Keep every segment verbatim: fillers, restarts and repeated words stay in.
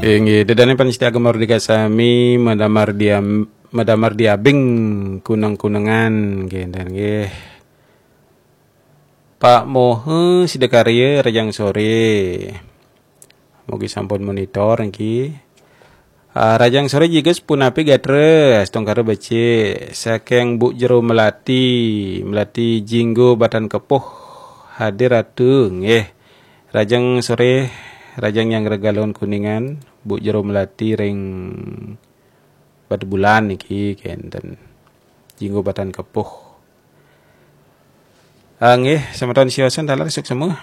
Inggih, ida dané pamiarsa Gema Merdeka sami, madamar diam, madamar diabing kuneng-kunengan, nggih, dan nggih. Pak Mohe Sidakarya, rahajeng soré. Mugi sampun monitor niki. Ah, rahajeng soré Jiges, punapi gatra, astungkara becik, saking Bu Jero Melati, Melati Jinggo Batan Kepuh, hadir atu, nggih. Rahajeng soré, rahajeng nyanggra Galungan Kuningan, Bu Jero Melati ring Batubulan niki kénten. Jinggo Batan Kepuh. Ah, nggih, semeton siosan taler suksma.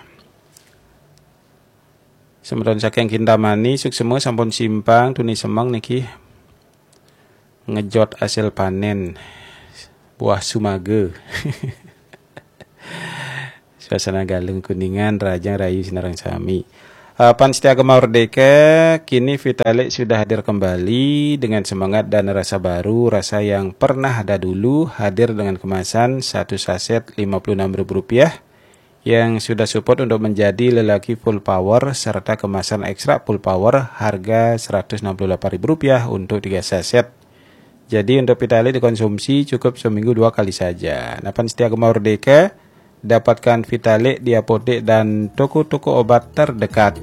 Semeton saking Kintamani suksma, sampun simpang tuni semeng niki. Ngejot hasil panen buah sumaga. Suasana Galungan Kuningan, rahajeng rahayu sinareng sami. Ah, pamiarsa Gema Merdeka, kini Vitalik sudah hadir kembali dengan semangat dan rasa baru, rasa yang pernah ada dulu, hadir dengan kemasan satu saset lima puluh enam ribu rupiah yang sudah support untuk menjadi lelaki full power serta kemasan ekstra full power harga seratus enam puluh delapan ribu rupiah untuk tiga saset. Jadi untuk Vitalik dikonsumsi cukup seminggu dua kali saja. Nah, pamiarsa Gema Merdeka, dapatkan Vitalik di apotek dan toko-toko obat terdekat.